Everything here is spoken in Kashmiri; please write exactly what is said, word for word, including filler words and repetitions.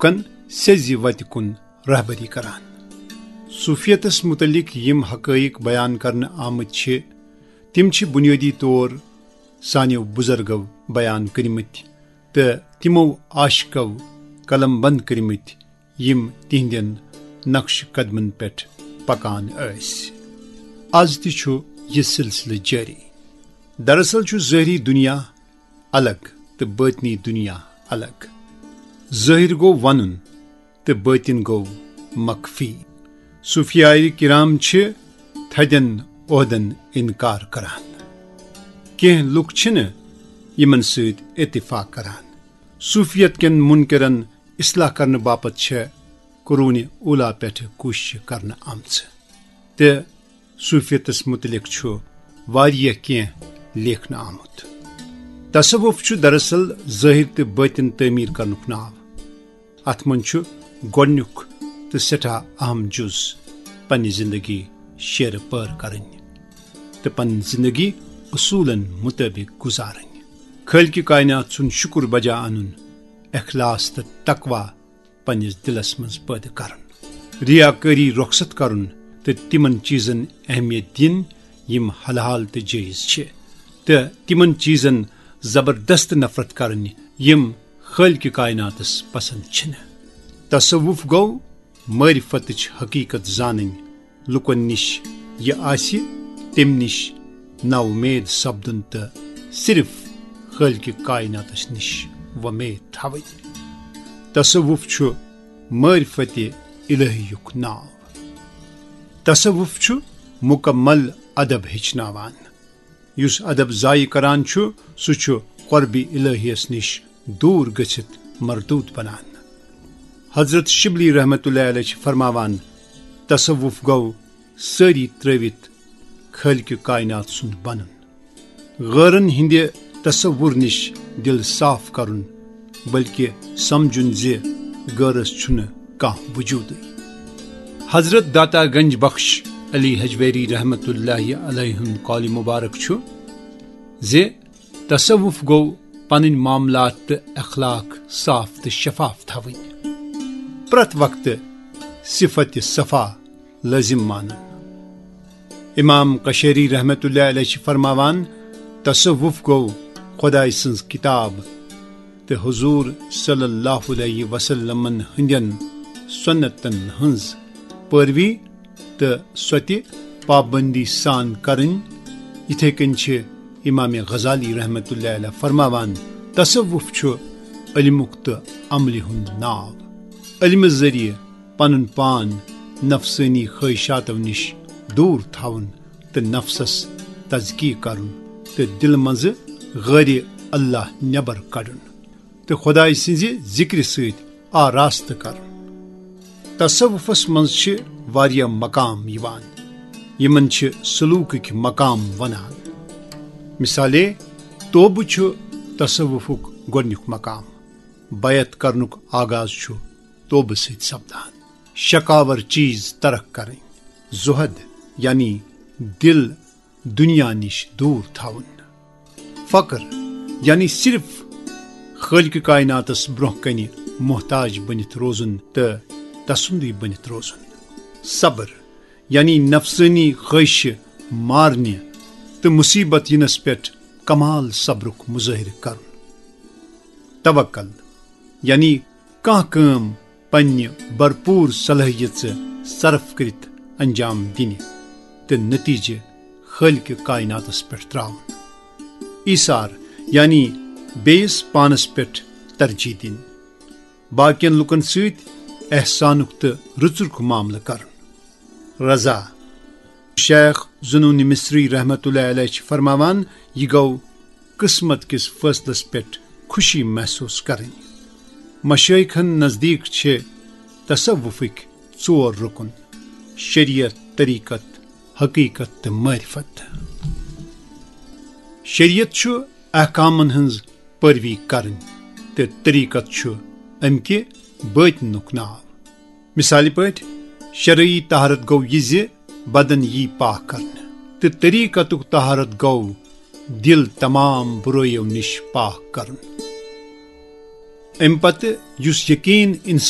لوٗکن سیٚزِ وتہِ کُن رہبری کران۔ صوفیتس متعلق یِم حقائق بیان کرنہٕ آمٕتۍ چھِ، تِم چھِ بنیٲدی طور سانیو بزرگو بیان کٔرمٕتۍ تہٕ تِمو عاشقو قلم بند کٔرمٕتۍ، یِم تِہنٛدٮ۪ن نقش قدمن پٮ۪ٹھ پکان ٲسۍ۔ از تہِ چھُ یہِ سلسلہٕ جٲری۔ دراصل چھُ ظٲہری دُنیا الگ تہٕ باطنی دُنیا الگ۔ ظٲہِر گوٚو ونُن تہٕ باطن گوٚو مخفی۔ صوفیاے کرام چھِ تھدٮ۪ن عہدن انکار کران۔ کینٛہہ لوٗکھ چھِنہٕ یِمن سۭتۍ اتفاق کران۔ صوفیت کٮ۪ن منکرن اصلاح کرنہٕ باپتھ چھےٚ قرون اولا پٮ۪ٹھٕ کوٗششہٕ کرنہٕ آمژٕ تہٕ صوفیتس متعلق چھُ واریاہ کینٛہہ لیکھنہٕ آمُت۔ تصوف چھُ دراصل ظٲہر تہٕ باطن تعمیر کرنُک ناو۔ اتھ منٛز چھُ گۄڈنیُک تہٕ سٮ۪ٹھاہ اہم جُز پننہِ زندگی شیرٕ پٲر کرٕنۍ تہٕ پنٕنۍ زندگی اصوٗلن مطٲبق گُزارٕنۍ، خالق کائنات سُنٛد شُکر بجا انُن، اخلاص تہٕ تقوی پننِس دِلس منٛز پٲدٕ کرُن، ریاکٲری رۄخصت کرُن تہٕ تِمن چیزن اہمیت دِنۍ یِم حلال تہٕ جٲیز چھِ، تہٕ تِمن چیزن زبردست نفرت کرٕنۍ یِم خالق کائناتس پسند چھِنہٕ۔ تصوف گوٚو معرفتٕچ حقیقت زانٕنۍ، لوٗکن نِش یہِ آسہِ تمہِ نِش ناامید سپدُن تہٕ صرف خالق کائناتس نِش وۄمید تھاوٕنۍ۔ تصوف چھُ معرفت الہیُک ناو۔ تصوف چھُ مکمل ادب ہیٚچھناوان۔ یُس ادب ضایع کران چھُ، سُہ چھُ قرب الہیس نِش دوٗر گٔژھِتھ مردود بنان۔ حضرت شبلی رحمت اللہ علیہ چھِ فرماوان، تصوف گوٚو سٲری ترٲوِتھ خالق کائنات سُنٛد بنُن۔ غٲرن ہٕنٛدِ تصور نِش دِل صاف کرُن، بلکہِ سمجھُن زِ غٲرس چھُنہٕ کانٛہہ وجودٕے۔ حضرت داتا گنج بخش علی ہجویری رحمت اللہ علیہ ہُنٛد قول مبارک چھُ زِ تصوف گوٚو پنٕنۍ معاملات تہٕ اخلاق صاف تہٕ شفاف تھاوٕنۍ، پرٛٮ۪تھ وقتہٕ صفت صفا لٲزم مانُن۔ امام قشیری رحمت اللہ علیہ چھِ فرماوان، تصوف گوٚو خدائے سٕنٛز کتاب تہٕ حضور صلی اللہ علیہ وسلمن ہٕنٛدٮ۪ن سنتن ہٕنٛز پیروی تہٕ سۄ تہِ پابندی سان کرٕنۍ۔ یِتھے کٔنۍ چھِ امام غزالی رحمت اللہ علیہ فرماوان، تصوف چھُ علمُک تہٕ عملہِ ہُنٛد ناو۔ علمہٕ ذٔریعہٕ پنُن پان نفسٲنی خواہشاتو نِش دوٗر تھاوُن تہٕ نفسس تزکیہ کرُن تہٕ دِلہٕ منٛزٕ غٲرِ اللہ نٮ۪بر کڑُن تہٕ خدایہِ سٕنٛزِ ذِکرِ سۭتۍ آراستہٕ کرُن۔ تصوفس منٛز چھِ واریاہ مقام یِوان، یِمن چھِ سلوکٕکۍ مقام ونان۔ مثالے، توبہٕ چھُ تصوفُک گۄڈنیُک مقام۔ بیعت کرنُک آغاز چھُ توبہٕ سۭتۍ سپدان۔ شکاور چیز ترک کرٕنۍ، زہد یعنی دل دنیا نِش دوٗر تھاوُن، فقر یعنی صرف خالق کائناتس برونٛہہ کنہِ محتاج بٔنِتھ روزُن تہٕ تسُنٛدُے بٔنِتھ روزُن، صبر یعنی نفسٲنی خواہشہِ مارنہِ تہٕ مصیبت یِنس پٮ۪ٹھ کمال صبرُک مظٲہرٕ کرُن، توکل یعنی کانٛہہ کٲم پننہِ بھرپور صلٲحیژٕ صرف کٔرِتھ انجام دِنہِ تہٕ نتیجہٕ خالق کائناتس پٮ۪ٹھ تراوُن، ایثار یعنی بیٚیِس پانس پٮ۪ٹھ ترجیح دِنۍ، باقین لوٗکن سۭتۍ احسانُک تہٕ رٕژُرُک معاملہٕ کرُن۔ رضا۔ شیخ ذوالنون مصری رحمت اللہ علیہ چھِ فرماوان، یہِ گوٚو قسمت کِس فٲصلس پٮ۪ٹھ خوشی محسوس کرٕنۍ۔ مشایخن نزدیٖک چھِ تصوفٕکۍ ژور رُکُن، شریعت، طریقت، حقیقت تہٕ معرفت۔ شریعت چھُ احکامن ہٕنٛز پیروی کرٕنۍ تہٕ طریقت چھُ امہِ کہِ باطنُک ناو۔ مثالہِ پٲٹھۍ، شرعی طہارت گوٚو یہِ زِ بدن یی پاک کرنہٕ، تہٕ طریقتُک طہارت گوٚو دل تمام برٲیو نِش پاک کرُن۔ امہِ پتہٕ یُس یقین انسان